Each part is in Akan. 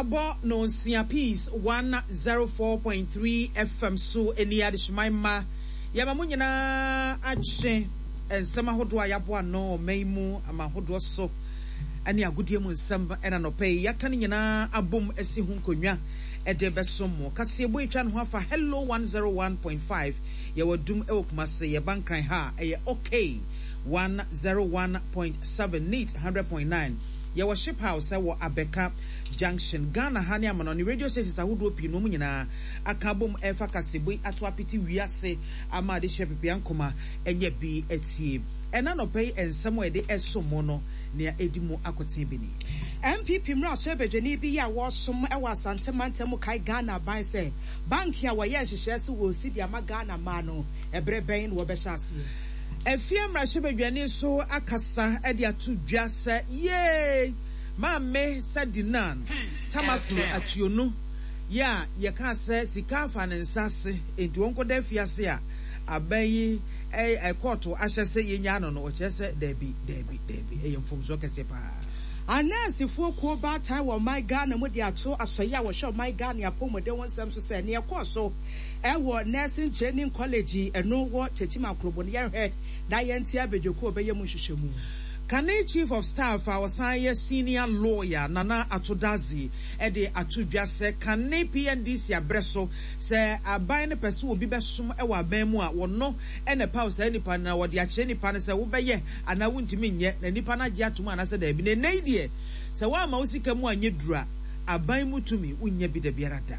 Abɔ nonsia Peace 104.3 FM so ɛni adehyeman mma yɛma mo nyinaa akye nsɛm ahodoɔ a yɛaboa ano ɔman yi mu ama ahodoɔ so ne agodie mu nsɛm ɛna nɔpɛ yi yɛaka no nyinaa abom asi ho nkonnwa ɛde bɛsom mo kaseɛbɔ etwa ne ho afa Hello 101.5 yɛwɔ dum ɛwɔ Kumase yɛba Nkran ha ɛyɛ okay 101.7 neat 100.9 Yɛwɔ Ship House wɔ Abɛka Junction, Ghana ha ne amanɔne radio stations ahodoɔ pii nom nyinaa aka abom ɛrefa kaseɛbɔ yi ato apete wiase ama adehyeɛ pepea nkoma anya bi atie. Ɛna anɔpa yi nsɛm a yɛde ɛsom mo no nea ɛdi mu akoten bi ni. NPP mmarahyɛbadwani bi a wɔresom wɔ Asante mantam mu kae Ghana aban sɛ bank a wɔyɛɛ nhyehyɛɛ sɛ wɔresi de ama Ghana mmaa no, ɛberɛ bɛn na wɔbɛhyɛ aseɛ? Afie mmarahyɛbadwani nso akasa de ato dwa sɛ yee Maame Sadinan Tamaklo Atuonu yi a yɛkaa sɛ sika afa ne nsa ase enti ɔnkɔda afiase a aban yi kɔɔto ahyɛ sɛ yɛnyaa no no, ɔkyerɛ sɛ daabi, daabi, daabi, ɛyɛ mfomsoɔ kɛseɛ paa. Anɛɛsefoɔ kuo baatan wɔ ɔman Ghana mu de ato asɔeɛ a wɔhwɛ ɔman Ghana apɔmuden ho nsɛm so sɛ nea ɛkɔɔ so Ɛwɔ Nursing Training College ɛno wɔ Techiman Krobo no yɛnhwɛ na yɛnte abadwakuo a ɔbɛyɛ mu nhwehwɛmu. Kane Chief of Staff a ɔsan yɛ Senior Lawyer Nana Ato Dadzie de ato dwa sɛ kane PNDC abrɛ so sɛ aban no pɛ sɛ obi bɛsom wɔ aban mu a wɔno na ɛpaw saa nipa no na wɔde akyerɛ nipa no sɛ wobɛyɛ anaa wontumi nyɛ na nipa no agye atom anaasɛ daabi na ɛnnɛ yi deɛ sɛ woamma wo sika mu anyɛ duru a aban mu tumi wonnya bi dabiara da.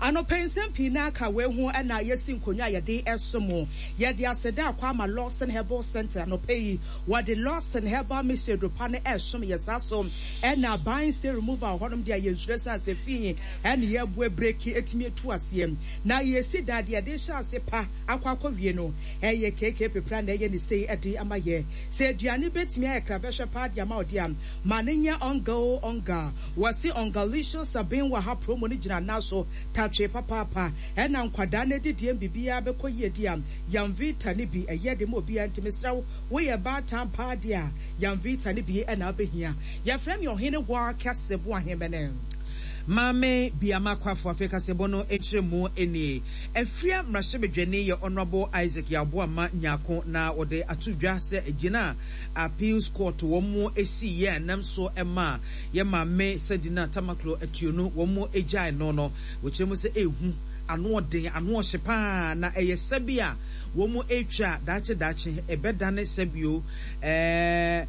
Anɔpa yi nsɛm pii na aka wei ho na yɛsi nkonnwa a yɛde resom mo. Yɛde aseda akɔ ama Lawson Herbal Centre anɔpa yi. Wɔde Lawson Herbal Mixture aduro pa no resom yɛ. Saa so na Buying Stain Removal wɔ hɔnom deɛ yɛnsuro ɛsiane sɛ fi na yɛreboa breki atumi atu aseɛ. Na yɛsi dan deɛ yɛde rehyɛ ase pa akɔ akɔwie no ɛyɛ KK Pepra na ɛyɛ ne sei de ama yɛ. Sɛ aduane bɛtumi ayɛ krabɛhwɛ paa de ama wo deɛ a, ma no nyɛ ɔnga oo ɔnga. Wɔse Ungalicious Sabin wɔ ha promo no gyina nan so tatwee papaapa ɛna nkwadaa no adidie biribiara bɛkɔ yie di a Yamvita no bi ɛyɛ de ma obiara nti mesrɛ wo woyɛ baatan paa deɛ a Yamvita no bi ɛna wobɛhia. Yɛfrɛ me Ɔhene Waa Kɛse Boahemene. Maame Biama Kwafo afei kaseɛbɔ no nkyerɛmu nie. Afia mmarahyɛbadwani yɛ Honourable Isaac Yaw Boamah Nyarko na wɔde ato dwa sɛ agyina a Appeals Court wɔn siiɛ a ɛnam so maa Yɛ maame Sedina Tamaklo Atuonu wɔn gyae no no, wɔkyerɛ mu sɛ ehu, ano ɔden, ano ɔhye paa, na ɛyɛ sɛbi a wɔn retwa a daakye daakye ɛbɛdane sɛbio ɛɛ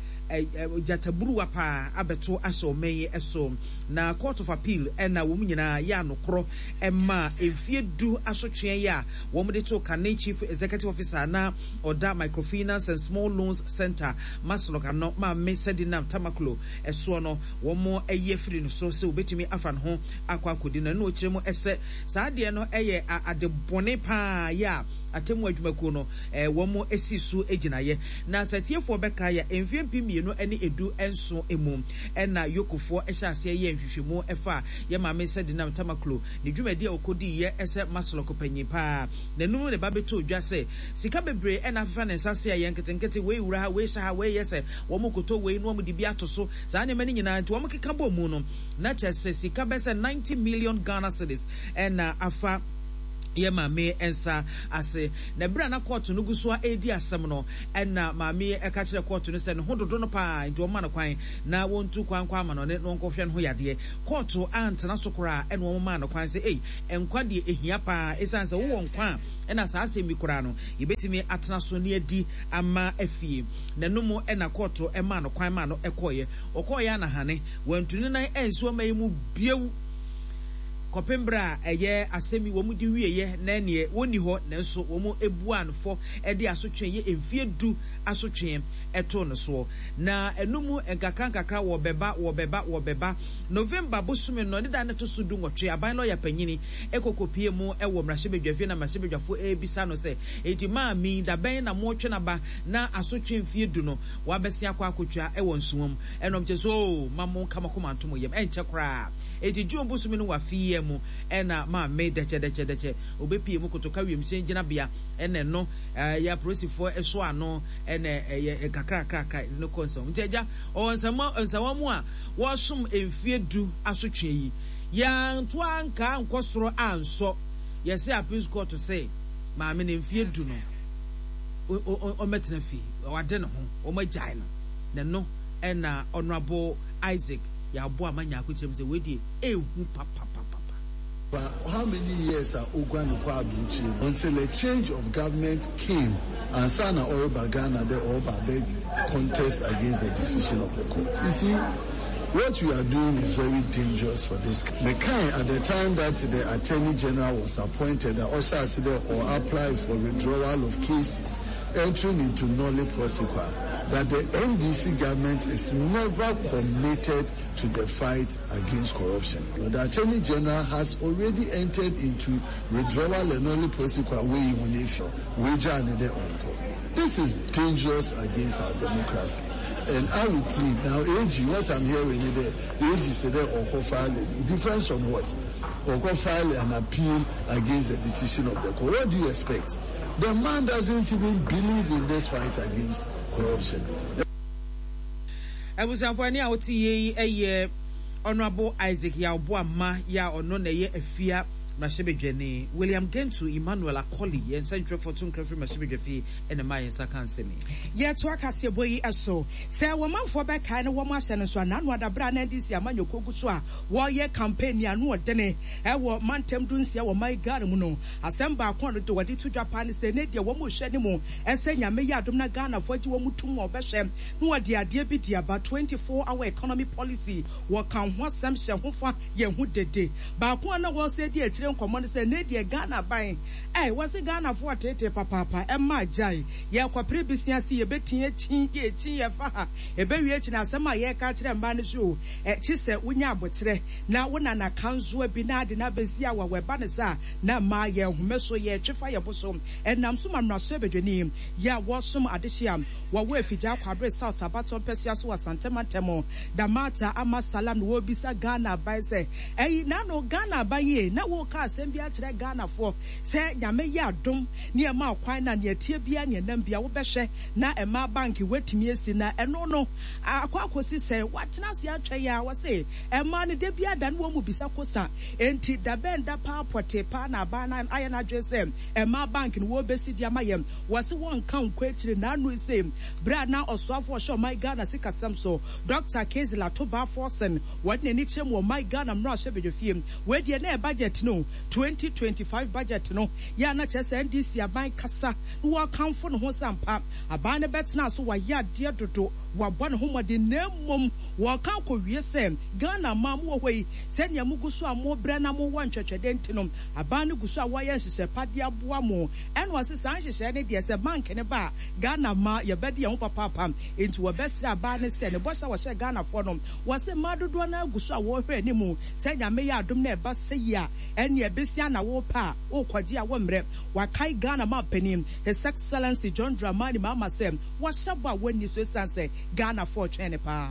gyataburuwa paa abɛto ahyɛ ɔman yi so. Na Court of Appeal na wɔn nyinaa yɛ anokorɔ maa mfie du asotweɛ yi a wɔn de too kane Chief Executive Officer na ɔda Microfinance and Small Loans Centre, MASLOC ano, Maame Sedina Tamaklo soɔ no, wɔayi afiri no so sɛ wɔbɛtumi afa ne ho akɔ akɔdi no. Ɛno ɔkyerɛ mu sɛ saa adeɛ no yɛ ade bɔne pa ara yɛ a atemmuo adwumakuo no wɔn si so gyinaeɛ. Na sɛ atiefoɔ bɛkae a, mfeɛ 2017 mu na Yokofoɔ hyɛ aseɛ yɛɛ nhwehwɛmu faa yɛn maame Sedinam Tamaklo ne dwumadie a ɔkɔdiiɛ sɛ Maslok panyin pa ara. N'anum ne ba bɛtɔɔ dwa sɛ sika bebree na afefa ne nsa ase a ɛyɛ nketenkete, wei wura ha, wei hyɛ ha, wei yɛ sɛ Wɔkoto wei na wɔde bi ato so. Saa nneɛma no nyinaa nti wɔkeka bɔɔ mu no, na kyerɛ sɛ sika bɛyɛ sɛ 90 million Ghana cedis na afa yɛ maame nsa ase. Na bere a na kɔɔto no gu so ara redi asɛm no, ɛna maame yi ka kyerɛɛ kɔɔto no sɛ ne ho dodo no paa nti wɔmma no kwan na wɔntu kwan nkɔ amanɔne na wɔnkɔhwɛ ne ho yadeɛ. Kɔɔto antena so koraa ɛna wɔmaa no kwan sɛ ei, nkwa deɛ ɛhia paa, ɛsiane sɛ wowɔ nkwa a ɛna saa asɛm yi koraa no yɛbɛtumi atena so ne adi ama afie. N'ano mu na kɔɔto maa no kwan maa no kɔeɛ. Ɔkɔeɛ a na hane, wantu ne nan ansi ɔman yi mu bio kɔpem berɛ a ɛyɛ asɛm yi wɔn de wieɛ na ɛneɛ wɔnni hɔ nanso wɔn buaa no fɔ de asotwee yɛ mfie du asotwee too no soɔ. Na ɛno mu nkakra nkakra wɔbɛba wɔbɛba wɔbɛba. November bosome no ne da no ɛto so du nwɔtwe aban lɔya panyini kɔ kɔpie mu wɔ mmarahyɛbadwafie na mmarahyɛbadwafoɔ rebisa no sɛ enti maame yi dabɛn na motwe no aba na asotwe mfie du no wabɛsen akɔ akotwa wɔ nsuwa mu. Ɛna ɔmo kyerɛ sɛ oo ma mo nka mo akoma nto mo yam, ɛnkyɛ koraa. Enti June bosome no wɔ afe yi ara mu na maame dɛkyɛdɛkyɛdɛkyɛ ɔbɛpie mu kotoka wiemhyɛn gyinabea ɛna ɛno ɛyɛ apolisifoɔ ɛsɔ ano ɛna ɛyɛ nkakrakrakra no kɔ nsɛm. Nti agya ɔwɔ nsɛm nsɛwa mu a wɔsom mfie du asotwe yi yɛanto anka ankɔ soro ansɔ yɛse appeals court se maame no mfie du no ɔmmɛtena fie wade ne ho wɔn agyae no na ɛno ɛna Honourable Isaac Yɛaboa ama Nyarko kyerɛ mu sɛ wei deɛ ɛhu papapapapa. But how many years a oguan kɔ aburokyire no until a change of government came ansa na ɔreba Ghana dɛ ɔreba abɛ contest against the decision of the court. You see what we are doing is very dangerous for this Mekae at the time that the attorney general was appointed a ɔhyɛ ase dɛ ɔ apply for withdrawal of cases entering into nolle prosequi that the NDC government is never committed to the fight against corruption. The Attorney General has already entered into withdrawal and nolle prosequi wey This is dangerous against our democracy. And I will plead now, AG, what I'm hearing is that AG said that or file difference on what? Or file an appeal against the decision of the court. What do you expect? The man doesn't even believe in this fight against corruption. Abusuafo ɛne a wote yie yi yɛ Honourable Isaac Yaw Boamah yi a ɔno na ɛyɛ Afia mmarahyɛbadwani, William Gentu Emmanuel Akoli, yɛn nsɛntwerɛfoɔ to nkra firi mmarahyɛbadwafie na ɛmaa yɛn nsa kaa nsɛm yi. Yɛtoa kaseɛbɔ yi so. Sɛ wɔmanfoɔ bɛkae na wɔn ahyɛ no nso a, n'ano ada berɛ a na NDC amanyɔkuo gu so a wɔreyɛ campaign ano ɔdene wɔ mantam dunsia wɔ man Ghana mu no. Asɛm baako a ɔno de ɔde to dwa paa ne sɛ, ɛnnɛ deɛ wɔn rehwɛ anim sɛ Nyame yɛ adom na Ghanafoɔ agye wɔn tom a wɔbɛhwɛ na wɔde adeɛ bi de aba, 24 hour economy policy, wɔka ho asɛm hyɛ ho fa yɛ ho dede. Baako a na wɔresan di akyire nkɔmmɔ ne sɛ, ɛnnɛ deɛ Ghana aban, eh, wɔse Ghanafoɔ reteetee papaapa, ɛmma agyae, yɛrekɔpere bisia se yɛbɛti akyi, yɛkyi, yɛfa ha, ɛbɛwie akyi no asɛm a yɛreka akyerɛ mmaa no so o, eh, kye sɛ wonya aboterɛ na wo nana kansoa bi na ade no abɛsi awawa, ɛba no saa a, na mmaa yɛn home so, yɛtwe fa yɛn bo so. Ɛnam so ma mmarahyɛbadwani yi a wɔresom adehye a wɔwɔ Afigya Kwabre South abatoɔ mpɛsoa so wɔ Asante mantam, Damata Ama Salam na wɔrebisa Ghana aban sɛ, Ɛyi naano Ghana aban yi na woreka asɛm bi akyerɛ Ghanafoɔ sɛ Nyame yɛ adom ne ɛma wo kwan na nea ɛteɛ biara nea ɛnam biara wobɛhwɛ na mmaa bank woatumi asi na ɛno no akɔ akɔsi sɛn? Woatena ase atwɛn a wɔse mmaa no da biara da ne wɔn mu bisa kosa. Enti da bɛn da paa pɔtee paa na aban no ayɛ n'adwene sɛ mmaa bank no wɔrebɛsi de ama yɛn? Wɔse wɔnka nkɔ akyire. N'ano yi sei berɛ a na ɔsoafoɔ a ɔhwɛ ɔman Ghana sikasɛm so, Dɔkta Kingsley Atoba Forson, wɔde n'ani kyerɛ mu wɔ ɔman Ghana mmarahyɛbadwafie. Wei deɛ na ɛyɛ budget no, 2025 budget no, yɛ a na kyerɛ sɛ NDC aban kasa na wɔrekamfo ne ho sɛ ampa aban no bɛtena so, wayɛ adeɛ dodo, wabɔ ne ho mmɔden, na mmom wɔreka akɔwie sɛ Ghana mmaa mowɔ hɔ yi, Sɛnea mugu so a mobrɛ na mowɔ ntwɛtwɛdɛ nti no, aban no gu so a wɔyɛ nhyehyɛe pa de aboa mo. Ɛna ɔse saa nhyehyɛe no deɛ sɛ bank no ba a, Ghana mmaa yɛbɛde yɛn ho papaapa. Enti wɔbɛsrɛ aban no sɛ ne bɔhyɛ a wɔhyɛɛ Ghanafoɔ no, wɔse mmaa dodoɔ no ara gu so a wɔrehwɛ anim sɛ Nyame yɛ adom na ɛba sɛyi a, ɛneɛ besia na wopɛ a wokɔgye a wommrɛ. Wakae Ghana manpanin, His Excellency John Dramani Mahama sɛ wahyɛ bɔ a wɔnni so esiane sɛ Ghanafoɔ retwɛn no paa.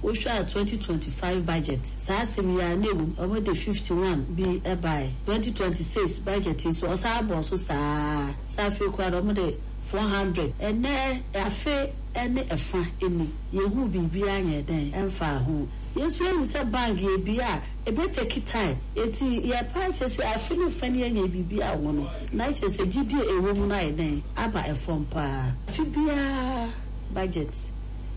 Wohwɛ a 2025 budget saa asɛm yi ara na ɛwom, wɔde 51 bi baeɛ. 2026 budget yi nso wɔsan bɔɔ so saa ara, sɛ afei koraa deɛ wɔde 400. Ɛnnɛ afe ne ɛfa ni, yɛnhuu biribiara nyɛɛ dɛn ɛmfaa ho. Yɛn nso yɛhu sɛ bank yɛbue a, ɛbɛ take time, enti yɛpɛ akyerɛ sɛ afe ne fa ni yɛnyɛɛ biribiara wɔ ho no, na kyerɛ sɛ gyidie a ɛwɔ mu no ayɛ dɛn aba fam pa ara. Afe biara budget.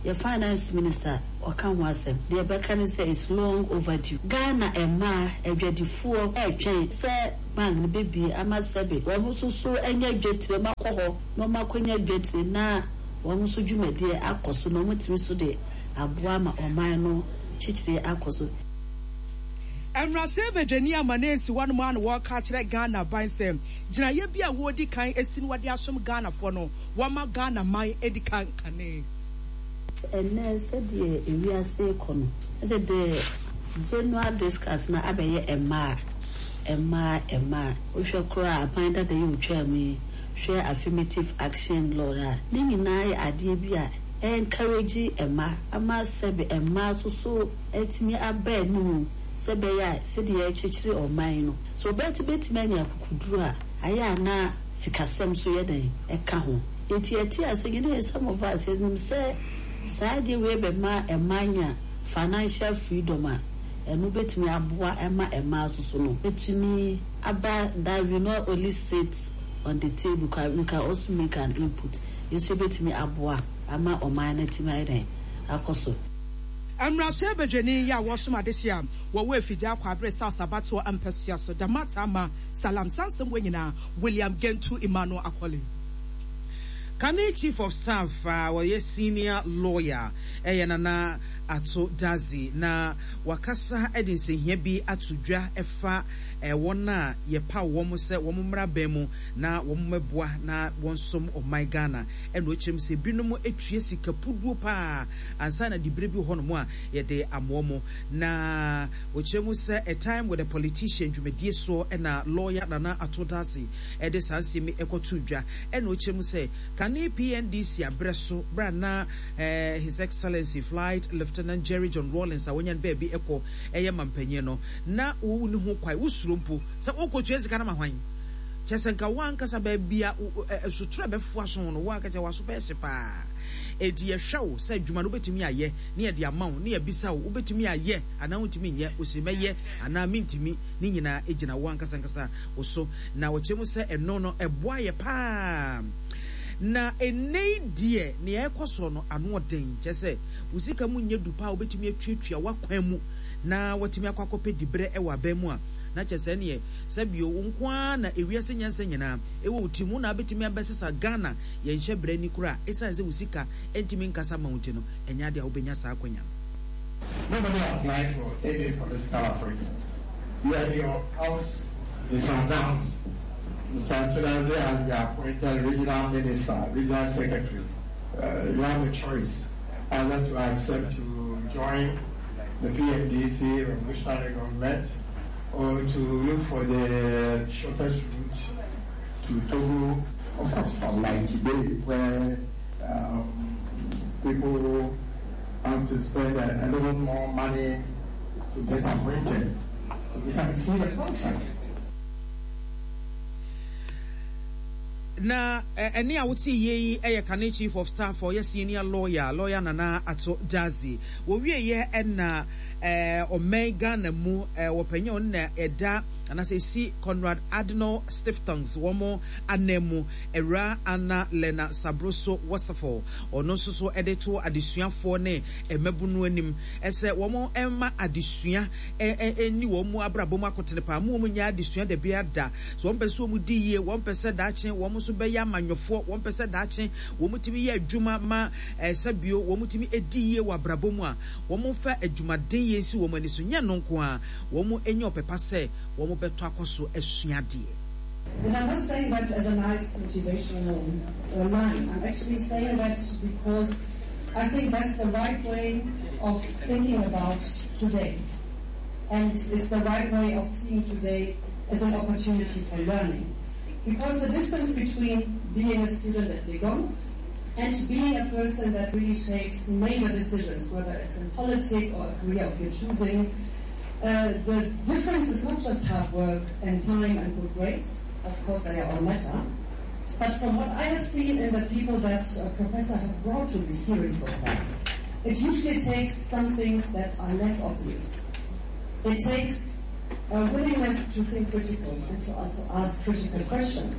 Yɛ finance minister ɔka ho asɛm. Deɛ ɛbɛka ne sɛ it's long overdue. Ghana mmaa adwadifoɔ retwɛn sɛ bank no bɛbue ama sɛbe wɔn nso so anya dwatire, wɔn akɔ hɔ na wɔn akɔnya dwatire na wɔn nso dwumadie akɔ so na wɔn atumi nso de aboa ama ɔman no kyekyeree akɔ so. Mmarahyɛbadwani Amaneh Nsiwa no ara na wɔreka akyerɛ Ghana aban sɛ gyinaeɛ bi a wɔredi kan asi na wɔde asom Ghanafoɔ no, Wɔma Ghana man adi kan kane. Ɛnnɛ sɛdeɛ ewiase rekɔ no, ɛsɛ the general discuss no abɛyɛ mmaa, mmaa, mmaa. Wohwɛ koraa a aban dada yi a ɔtwaa mu yi, hwɛ affirmative action law no a, ne nyinaa yɛ adeɛ bi a. Encourage mma ama sɛbe mmaa nso so atumi aba anim sɛ ɛbɛyɛ a sɛdeɛ yɛrekyekyere ɔman no, sɛ ɔbaa ti bɛtumi anya akokoduro a, ayɛ a na sikasɛm nso yɛ dɛn? Ɛka ho. Nti yɛte ase, yɛne some of us yɛnim sɛ saa adeɛ wei bɛma mmaa anya financial freedom a, ɛno bɛtumi aboa ma mmaa nso so no atumi aba that we not only sit on the table, we can also make an input. Nso ebetumi aboa ama ɔman no atumi ayɛ dɛn? Akɔ so. Mmarahyɛ badwani yi a wɔsom adehye a wɔwɔ Afigya Kwabre South abatoɔ mpasua so, Damat Ama Salam saa nsɛm wei nyinaa William Gentu Emmanuel Akoli. Kane Chief of Staff a ɔyɛ senior lawyer yɛ Nana Ato Dadzie na wakasa de nsɛnhia bi ato dwa ɛfa wɔn a yɛpaw wɔn sɛ wɔn mmra abɛn mu na wɔmmɛboa na wɔnsom ɔman Ghana. Ɛna ɔkyerɛ mu sɛ binom tua sika puduo paa ansa na diberɛ bi wɔ hɔnom a yɛde amoa mo. Na ɔkyerɛ mu sɛ A Time with a Politician dwumadie soɔ na lawyer Nana Ato Dadzie de saa nsɛm yi kɔtoo dwa. Ɛna ɔkyerɛ mu sɛ kane PNDC aberɛ so berɛ a na His Excellency Flight Lieutenant Jerry John Rawlings a wanya no baabi kɔ yɛ mampanyin no, na wonni ho kwan, wosuro mpo sɛ wokɔtua sika no ma hwan? Kyerɛ sɛ nka wo ankasa baabi a sotorɔ bɛfoa so no, wo ankasa w'aso bɛyɛ hye paa. Enti yɛhwɛ wo sɛ adwuma no wobɛtumi ayɛ na yɛde ama wo na yɛabisa wo, wobɛtumi ayɛ anaa wontumi nyɛ, wose mɛyɛ anaa mentumi, ne nyinaa gyina wo ankasa ankasa wo so. Na wɔkyerɛ mu sɛ ɛno no ɛboa yɛ paa. Na ɛnnɛ yi deɛ nea ɛrekɔ soɔ no ano ɔden, kyerɛ sɛ wo sika mu nyɛ du paa a wobɛtumi atuatua w'akwan mu na watumi akɔ akɔpɛ diberɛ wɔ aban mu a, na kyerɛ sɛ ɛneɛ Sɛ bio, wo nko ara na ewiase nyansa nyinaa wɔ wo tirim, wo na wobɛtumi abɛsesa Ghana yɛn hyɛbrɛ ani koraa a, ɛsiane sɛ wo sika ntumi nkasa mma wo nti no, ɛnyɛ adeɛ a wobɛnya saa akwanya no. Nobody applied for any political appointment. You are in your house in Sundowns. Mr. Tudazi has been appointed regional minister, regional secretary. Uh, you have a choice either to accept to join the PMDC revolutionary government or to look for the shortest route to Togo. Of course, unlike today where um, people have to spend a, a little more money to get appointed. You can see the contrast. Na ɛnne a wote yie yi yɛ kane Chief of Staff a ɔyɛ senior lawyer, Lawyer Nana Ato Dadzie. Wɔwieɛ ɛna ɔman Ghana mu wɔpanyin a ɔno na ɛda anaasɛ ɛsi Konrad Adenauer Stiftungs wɔn anan mu, Awuraa Anna Lena Sabroso Wasserfall. Ɔno nso so de to adesuafoɔ ne mmabunu anim sɛ wɔn mma adesua nni wɔn mu abrabɔ mu akotene paa, mo wɔn nyɛ adesua dabiara da. So wɔn pɛ sɛ wɔn di yie, wɔn pɛ sɛ daakye wɔn nso bɛyɛ amanyɔfoɔ, wɔn pɛ sɛ daakye wɔn tumi yɛ adwuma ma ɛsɛ bio, wɔn tumi di yie wɔ abrabɔ mu a, wɔn fa adwumaden yɛ nsi wɔn ani so. Nyɛ ɛno nko ara, wɔn nya ɔpɛ pa sɛ wɔn bɛtɔ akɔ so asua adeɛ. And I'm not saying that as a nice motivational uh, line. I'm actually saying that because I think that's the right way of thinking about today. And it's the right way of seeing today as an opportunity for learning. Because the distance between being a student at Legon and being a person that really shapes major decisions, whether it's in politics or a career of your choosing, uh, the difference is not just hard work and time and good grades. Of course, they all matter. But from what I have seen in the people that a professor has brought to this series so far, it usually takes some things that are less obvious. It takes a willingness to think critical and to also ask critical questions.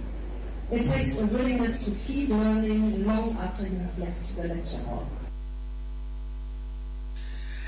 It takes a willingness to keep learning long after you have left the lecture hall.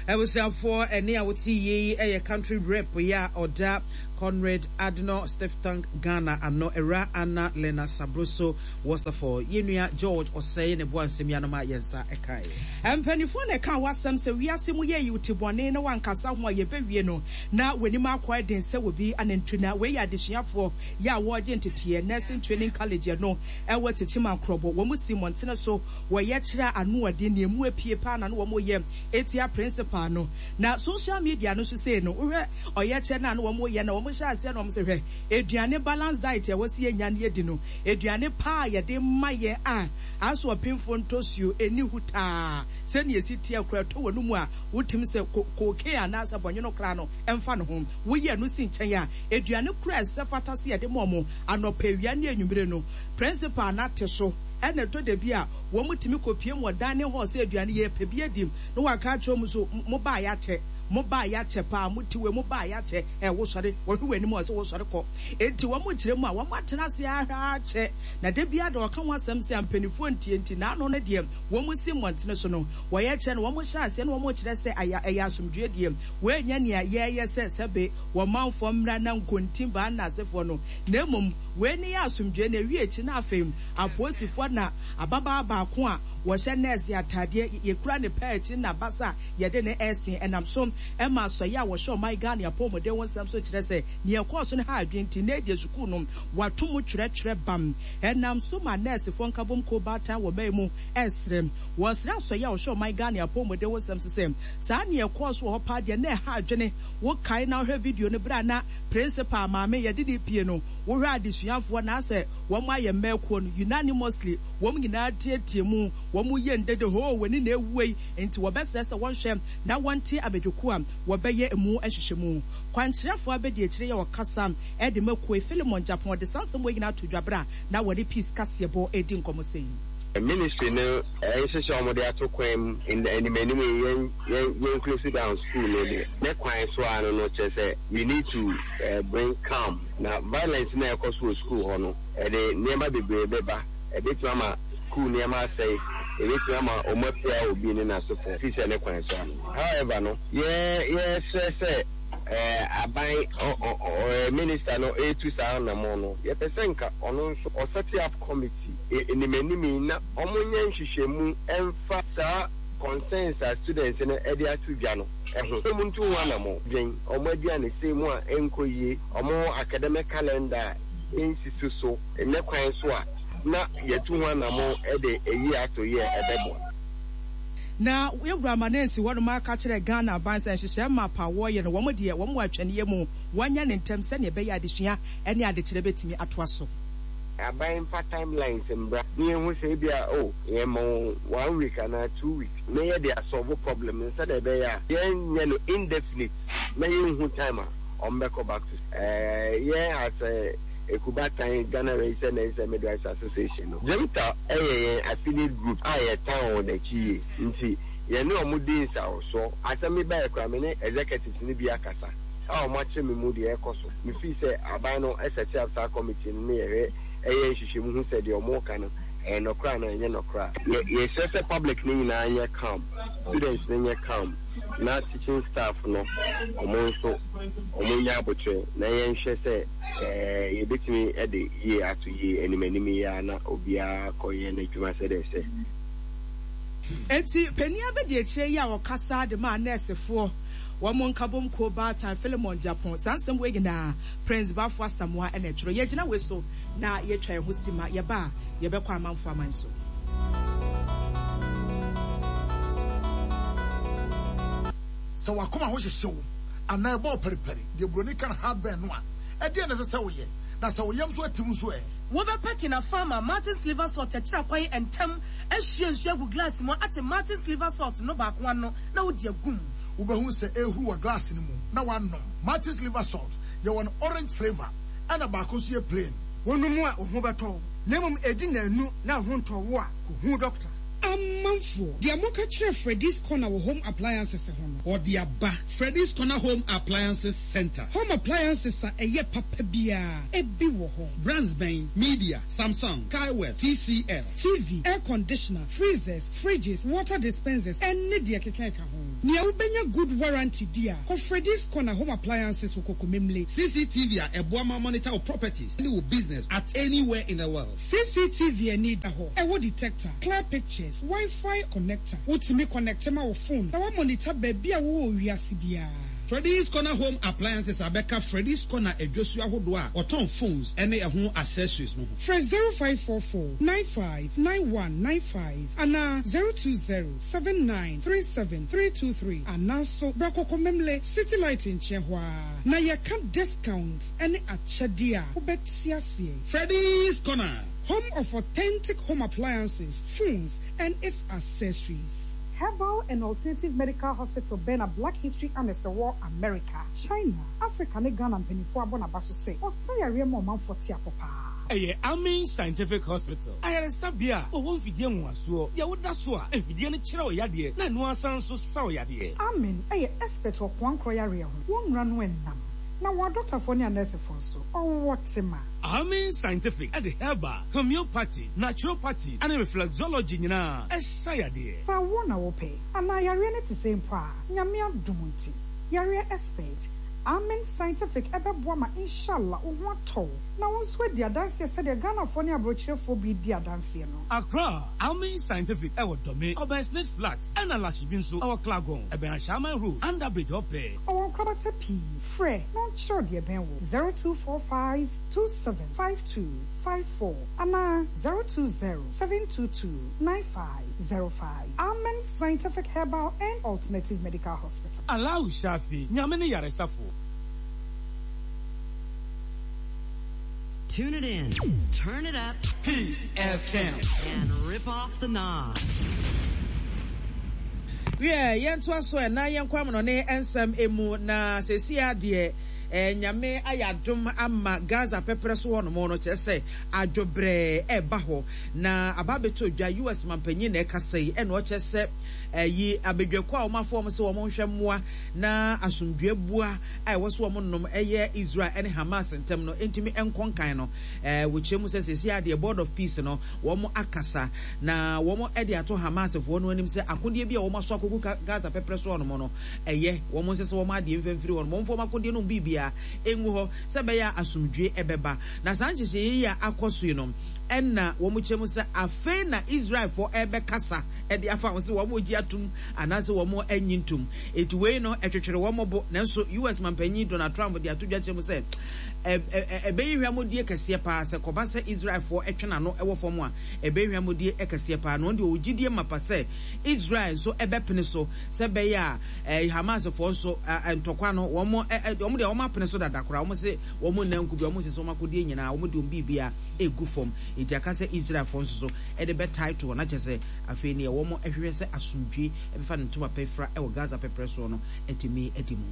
Abusuafoɔ ɛne a wote yie yi yɛ country rep yi a ɔda Conrad Adenauer Stiftung Ghana ano, Awuraa Anna Lena Sabroso Wasserfall. Yɛn nua George Osei ne boa nsɛm yi ano ma yɛn nsa kaeɛ. Mpanimfoɔ na ɛkaa w'asɛm sɛ wiase mu yɛ yiw te bɔne na woankasa ho a yɛbɛwie no na w'anim akɔ den sɛ obi anantwi na wei yɛ adesuafoɔ yɛ a wɔregye nteteɛ Nursing Training College ɛno ɛwɔ Techiman Krɔbɔ wɔn si mmɔntene so wɔyɛ kyerɛ a ano ɔden nea emu apue paa na no wɔn yɛ etia principal. principal no. Na social media no so sei no, wohwɛ ɔyɛkyerɛ no a na wɔyɛ no a, wɔhyɛ aseɛ na wɔse hwɛ, aduane balance diet a ɛwɔ sɛ yɛnya na yɛdi no, aduane pa a yɛde ma yɛn a asoɔpemfoɔ ntɔsuo ɛnni hutaa sɛdeɛ ɛsi teɛ koraa ɛtɔ w'anomu a wotumi sɛ cocaine anaasɛ bɔnwono koraa no ɛmfa ne ho. Woyi ɛno si nkyɛn a, aduane koraa a ɛsɛ fata sɛ yɛde ma wɔn anɔpa, awia ne anwummere no, principal no ate so. Ɛna ɛtɔ da bi a wɔtumi kɔpue mu wɔ dining hall sɛ aduane yɛrepɛ bi adi na wɔaka akyerɛ wɔn so mobaa yɛakyɛ, mobaa yɛakyɛ paa, mote wei, mobaa yɛakyɛ, ɛ wosɔre, wɔhwɛ w'anim a wɔse wosɔre kɔ. Enti wɔn kyerɛ mu a wɔatena ase ahwɛ akyɛ na da biara da wɔka ho asɛm sɛ mpanimfoɔ ntie nti n'ano no deɛ wɔn si mmɔntene so no wɔyɛ kyerɛ no wɔn hyɛ aseɛ na wɔn kyerɛ sɛ ayɛ ɛyɛ asomdwoeɛ deɛ wei nyɛ nea yɛyɛ sɛ sɛbe wɔn manfoɔ mmra na nkontim baa nnasefoɔ no na mmom wei ne yɛ asomdwoeɛ na ɛwie akyi na afei apolisifoɔ na ababaa baako a wɔhyɛ nɛɛse ataadeɛ yɛkura ne paa akyi na basa a yɛde ne ɛsen ɛnam so ɛma asɔeɛ a wɔhyɛ ɔman Ghana apɔmuden ho nsɛm so kyerɛ sɛ nea ɛkɔɔ so no ha adwene nti nnɛ deɛ sukuu no wɔato mu twerɛtwerɛ bam ɛnam so ma nɛɛsefoɔ nkabom kuo baatan wɔ man mu ɛresrɛ wɔsrɛ asɔeɛ a wɔhyɛ ɔman Ghana apɔmuden ho nsɛm so sɛ saa nea ɛkɔɔ so wɔ hɔ paa deɛ na ɛha adwene. Wokae na wohwɛ video no berɛ a na principal maame yɛde no repie no, wohwɛ adesuafoɔ na asɛ wɔn ayɛ mmakuo no unanimously wɔn nyinaa teatea mu, wɔn yɛ ndede hoo w'ani na awuei, nti wɔbɛsrɛ sɛ wɔnhwɛ na wɔnte abadwakuo a wɔbɛyɛ emu nhwehwɛmu. Kwankyerɛfoɔ abadiakyire yɛ ɔkasa de ma kuo yi, Philemon Gyapong, ɔde saa nsɛm wei nyinaa too dwa berɛ a na wɔne Peace Kaseɛbɔ redi nkɔmmɔ sei. Ministry no nhyehyɛ a wɔde ato kwan mu anim anim yi yɛn yɛn yɛn close down school no deɛ ne kwan so ara no no kyerɛ sɛ we need to bring calm na violence no a ɛkɔ so wɔ school hɔ no ɛde nneɛma bebree bɛba ɛbɛtumi ama school nneɛma asɛe ɛbɛtumi ama wɔn apira obi ne n'asefo fi sɛ ne kwan so ano however no yɛ yɛsrɛ sɛ aban ɔ ɔ ɔ minister no ɛretu saa anamɔn no yɛpɛ sɛ nka ɔno nso ɔset up committee anim anim yi na wɔnyɛ nhwehwɛmu mfa saa concerns a students no de ato dwa no ho. Wɔntu ho anammɔn. Dwen wɔn aduanesɛm mu a ɛnkɔ yie, wɔn academic calendar a ɛnsisi so ne kwan so a na yɛatu ho anammɔn de ayi ato yie a ɛbɛboa. Na Yɛwura Manensi hɔnom aka kyerɛ Ghana aban sɛ nhyehyɛɛ map a wɔreyɛ no wɔn deɛ wɔn wɔ atwɛneɛ mu wɔnyɛ no ntɛm sɛdeɛ ɛbɛyɛ a adesua ne adekyerɛ bɛtumi atoa so. Aban mfa timelines mbra na yɛnhu sɛ ebia oh yɛma wɔn one week anaa 2 weeks na yɛde asɔlvo problem no sɛdeɛ ɛbɛyɛ a yɛnyɛ no indefinite na yɛnhu time a wɔbɛkɔ back to school. Yɛn as a Ekubatan Ghana Registered Nurses and Midwives Association no, GYMTA yɛ yɛn affiliate group a yɛtan wɔn akyi yie nti yɛne wɔn di nsawɔsoɔ. Asɛm yi baeɛ koraa me ne executives no bi akasa a wɔakyerɛ me mu deɛ ɛrekɔ so. Me feel sɛ aban no set up saa committee no ne yɛhwɛ yɛ nhwehwɛmu hu sɛ deɛ wɔreka no ɛyɛ nɔkorɛ anaa ɛnyɛ nɔkorɛ a. Yɛ yɛsrɛ sɛ public no nyinaa nyɛ calm, students no nyɛ calm na teaching staff no wɔn nso wɔn nyɛ aboterɛ na yɛnhwɛ sɛ yɛbɛtumi de yie ato yie anim anim yi ara na obiara akɔ yɛ n'adwuma sɛdeɛ ɛsɛ. Enti panin abadiakyire yi a ɔkasa de maa nɛɛsefoɔ wɔn nkabom kuo baatan Philemon Gyapong saa nsɛm wei nyinaa Prince Bafo Asamoah na ɛtwerɛ. Yɛgyina wei so na yɛtwa yɛn ho sima, yɛba a yɛbɛkɔ amanfoɔ aman so. Sɛ w'akoma ho hyehye wo anaa ɛbɔ wo paripari, deɛ buroni ka no heartburn no a, ɛdeɛn na ɛsɛ sɛ woyɛ? Na sɛ wo yam nso atim nso ɛ? Wobɛpɛ Kinafar ma Martin's Liver Salt akyiri akwan ntɛm ahwie nsuo agu glass mu ate Martin's Liver Salt no baako ano na wode agu mu. Wobɛhu sɛ ɛrehuru wɔ glass no mu na woanom. Martin's Liver Salt, yɛwɔ no orange flavour ɛna baako nso yɛ plain. Wonom a, wo ho bɛtɔ wo, na mmom ɛdi nnanu na wo ho ntɔ wo a, kɔhu dɔkta. Amanfoɔ, deɛ moka kyerɛ Freddy's Corner wɔ Home Appliances ho no. Ɔde aba. Freddy's Corner Home Appliances Centre. Home appliances a ɛyɛ papa biara, ebi wɔ hɔ. Brands bɛn? Media, Samsung, Skyworth, TCL. TV, air conditioner, freezers, fridges, water dispensers, ɛne deɛ ɛkeka ɛka ho. Nea wobɛnya good warranty di a, kɔ Freddy's Corner Home Appliances wɔ Kokomemle. CCTV a ɛboa ma monitor wo properties ne wo business at anywhere in the world. CCTV ani da hɔ, ɛwɔ detector, clear pictures, Wi-Fi connector. Wotumi connecte ma wo phone na woamonitor baabi a wowɔ wɔ wiase biara. Freddy's Corner Home Appliances abɛka Freddy's Corner adwasuo ahodoɔ a wɔtɔn phones ne ɛho accessories no ho. Frɛ 0544 95 9195 anaa 020 79 37 323 anaa nso bra Kɔkɔmemle City Light nkyɛn hɔ ara na yɛka discount ne akyɛdeɛ a wobɛte aseɛ. Freddy's Corner. Home of authentic home appliances, phones and its accessories. Herbal and Alternative Medical Hospital bɛn na Black History Annex wɔ America, China, Africa ne Ghana mpaninfoɔ abɔ n'aba so sɛ ɔsa yareɛ ma ɔmanfoɔ te apɔ paa. Ɛyɛ Amin Scientific Hospital, ayaresabea a wɔwɔ mfidie nwonwasoɔ, deɛ woda so a mfidie no kyerɛ wo yadeɛ na ɛno ara san nso sa wo yadeɛ. Amin yɛ expert wɔ koankorɔ yareɛ ho, wɔn nnura no nnam, na wɔn adɔktafoɔ ne anɛɛsefoɔ nso, ɔwɔ tema. Amin Scientific de herbal, homeopathy, naturopathy ne reflexology nyinaa sa yadeɛ. Sɛ awoɔ na wopɛ, anaa yareɛ no te sɛn mpo a, Nyame adom nti, yareɛ expert, Amen Scientific ɛbɛboa ma Inshallah wo ho atɔ wo, na wo nso adi adanseɛ sɛdeɛ Ghanafoɔ ne abrokyerefoɔ bi di adanseɛ no. Accra, Amen Scientific ɛwɔ Dome, ɔbɛn Smith Flat, ɛna Lashibi nso ɛwɔ Klagon, ɛbɛn Ashaiman Road, Under Bridge hɔ pɛɛ. Ɔwɔ nkorabata pii, frɛ na ɔnkyerɛ wo deɛ ɛbɛn wo, 0245 2752 54 anaa 020 722 9505. Amen Scientific Herbal and Alternative Medical Hospital. Allahu Shafi, Nyame ne yaresafo. Tune it in, turn it up. Peace FM. And rip off the knob. Wiɛ, yɛntoa so ɛ na yɛnkɔ amanɔne nsɛm emu na seesei ara deɛ eh, Nyame ayɛ adom ama Gaza pɛprɛ so hɔnom no, kyerɛ sɛ adwobrɛɛ ɛreba hɔ na aba abɛtɔ dwa. US mampanyin na ɛkasa yi, ɛna ɔkyerɛ sɛ ɛyi abadwakuo a wɔn afɔ wɔn sɛ wɔn nhwɛ mmoa na asomdwoe bua a ɛwɔ so wɔn nom ɛyɛ Israel ɛne Hamas ntɛm no ntumi nkɔ nkan no. Ɛɛ wɔkyerɛ mu sɛ seesei ara deɛ Board of Peace no wɔn akasa na wɔn de ato Hamasfoɔ no anim sɛ akodeɛ bi a wɔn aso akɔgu Gaza pɛprɛ so hɔnom no ɛyɛ wɔn nsɛ sɛ wɔn adeɛ mfa mfiri hɔnom, wɔmfa wɔn akodeɛ no mu biribiara ngu hɔ sɛ ɛbɛyɛ a asomdwoe ɛbɛba. Na saa nhyehyɛeɛ yi a akɔ so yi no ɛna wɔn kyerɛ mu sɛ afei na Israelfoɔ ɛrebɛkasa de afa ho sɛ wɔn regye atum anaasɛ wɔn nnye ntum. Enti wei no ɛtwetwere wɔn bo, nanso US mampanyin Donald Trump de ato dwa kyerɛ mu sɛ ɛbɛyɛ hwammɔdie kɛseɛ paa sɛ kɔba sɛ Israelfoɔ twe n'ano wɔ fam a, ɛbɛyɛ hwammɔdie kɛseɛ paa. Na ɔno deɛ ɔwɔ gyidie mapa sɛ Israel nso bɛpene so sɛ ɛbɛyɛ a Hamasfoɔ nso ntɔkwa no wɔn wɔn deɛ wɔn apene so dada koraa, wɔn se wɔn nna nku bi, wɔn nsese wɔn akodeɛ nyinaa, wɔn de wɔn biribiara egu fam. Enti aka sɛ Israelfoɔ nso so de bɛtae toɔ na kyerɛ sɛ afei neɛ wɔn hwehwɛ sɛ asomdwie bɛfa ne ntoma pa afira wɔ Gaza pɛprɛ soɔ no atumi adi mu.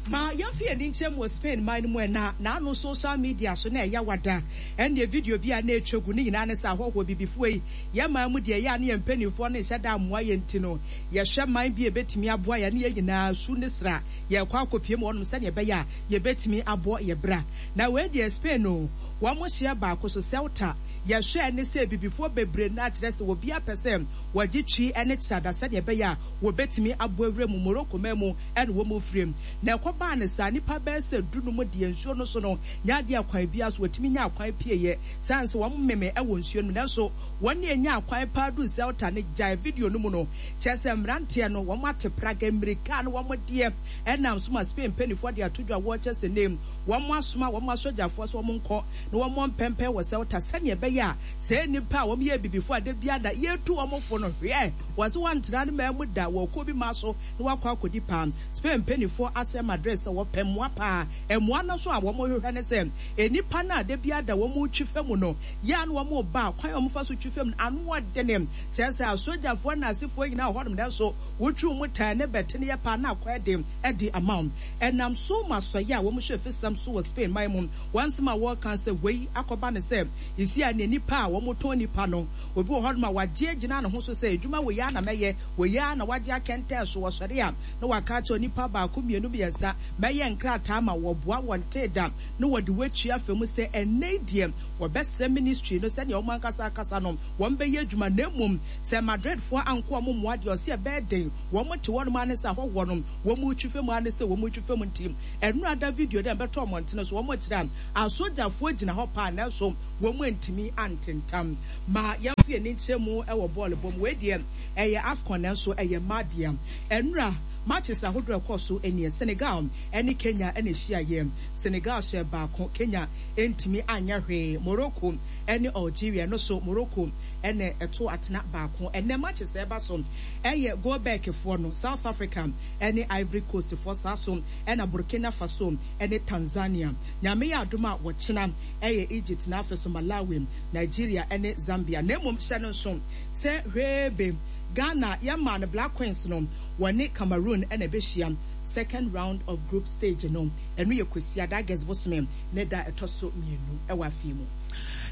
Ma yɛmfa yɛn ani nkyerɛ mu wɔ Spain man no mu ɛ, na n'ano social media so na ɛyɛ wada. Ɛnneɛ video bi a na ɛretwa gu no nyinaa ne sɛ ahɔhoɔ Abibifoɔ yi, yɛn man mu deɛ ɛyɛ a na yɛn mpanimfoɔ no nhyɛ da mmoa yɛn nti no, yɛhwɛ man bi a ɛbɛtumi aboa yɛn ne yɛn nyinaa su ne sra yɛrekɔ akɔpue mu hɔnom sɛdeɛ ɛbɛyɛ a yɛbɛtumi abɔ yɛn bra. Na wei deɛ Spain o, wɔn hyeɛ baako so, Ceuta, yɛhwɛɛ ne sɛ Abibifoɔ bebree no ara kyerɛ sɛ obiara pɛ sɛ wɔgye twi ne kyerada sɛdeɛ ɛbɛyɛ a wɔbɛtumi abɔ awura mu Morocco man mu na wɔn firim. Na ɛkɔbaa no saa, nnipa bɛyɛ sɛ dunum deɛ nsuo no so no nyɛ adeɛ a kwan biara so wɔtumi nyaa kwan pieeɛ sane sɛ wɔn meme wɔ nsuo no mu. Nanso wɔn a ɛnyaa kwan paa duu Ceuta no gyae video no mu no, kyerɛ sɛ mmeranteɛ no wɔn ate praga mmirika ne wɔn deɛ ɛnam so ma Spain mpaninfoɔ de ato dwa wɔrekyɛ sɛ nnɛ wɔn asoma wɔn asogyafoɔ sɛ wɔn nkɔ na wɔn mmɔ mpɛmpɛn wɔ Ceuta sɛdeɛ ɛbɛyɛ a saa nnipa a wɔn yɛ abibifoɔ a da biara da yɛretu wɔn fo no hwɛ wɔn sɛ wɔntena ne man mu da wɔ kuo bi ma so na wɔakɔ akɔdi paa. Spain mpaninfoɔ asrɛ Madrid sɛ wɔpɛ mmoa paa. Mmoa no nso a wɔhwehwɛ ne sɛ nnipa no a da biara da wɔretwi fa mu no yɛ a na wɔreba a kwan a wɔfa so twi fa mu no ano ɔdene kyerɛ sɛ asogyafoɔ Nazifoɔ nyinaa wɔ hɔnom nanso wotwi wɔn taa ne bɛte no yɛ paa na akɔ den de ama wɔn. Ɛnam so ma asɔeɛ a wɔhwɛ afisɛm so wɔ Spain man mu wɔn nsɛm a wɔreka sɛ wei akɔba ne sɛ seesei a nea nnipa a wɔtɔn nnipa no obi wɔ hɔnom a wagye agyina ne ho so sɛ adwuma wei ara na mɛyɛ wei ara na wagye akɛntɛn so wɔsɔre a na waka akyerɛ onipa baako mmienu mmiɛnsa mɛyɛ nkrataa ma wɔboa wɔn tee da na wɔde wɔatua afa mu sɛ ɛnnɛ yi deɛ wɔbɛsrɛ ministry no sɛdeɛ wɔn ankasa akasa no wɔn bɛyɛ adwuma na mmom sɛ Madridfoɔ anko wɔn mmoa deɛ ɔse ɛbɛyɛ den wɔn te hɔnom ara ne sɛ ahɔhoɔ no wɔn retwi fam ara ne sɛ wɔn retwi fam nti ɛnora da video no ɛbɛtɔ mmɔntene so wɔn kyerɛ a asogyafoɔ gyina hɔ paa nanso wɔn antumi antentam ma yɛmfa yɛn ani nkyerɛ mu wɔ bɔɔl bɔ mu wei deɛ ɛyɛ AFCON nanso ɛyɛ mmaa deɛ ɛnora. Matches ahodoɔ a ɛkɔɔ so nie, Senegal ne Kenya na ɛhyiaeɛ. Senegal hyɛɛ baako, Kenya antumi anyɛ hwee. Morocco ne Algeria, ɛno nso Morocco na ɛtoo atena baako. Ɛnnɛ matches a ɛba so yɛ Goldberg foɔ no, South Africa ne Ivory Coast foɔ, saa nso na Burkina Faso ne Tanzania. Nyame yɛ adom a wɔkyena yɛ Egypt na afei nso Malawi, Nigeria ne Zambia. Na mmom hyɛ no nso sɛ hwee Ghana yɛmaa no Black Queens no wɔne Cameroon na ɛbɛhyia second round of group stage no, ɛno yɛ Kwasiada, August bosome ne da a ɛtɔ so mienu wɔ afeɛ mu.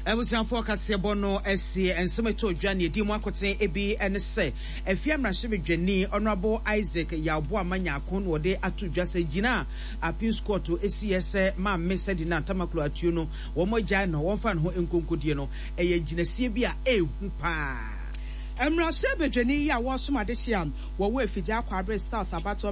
Abusuafoɔ kaseɛbɔ no asie nsɛm ɛtɔ dwa nea ɛdi mu akoten bi ne sɛ Afia mmarahyɛbadwani Honourable Isaac Yaw Boamah Nyarko na ɔde ato dwa sɛ gyina a Appeals Court siiɛ sɛ Maame Sedina Tamaklo Atuo no wɔn agyae no wɔmfa ne ho nkonkodie no ɛyɛ gyinasie bi a ɛɛhu paa. Mmarahyɛbadwani yi a wɔresom adehye a wɔwɔ Afigya Kwabre South abatoɔ.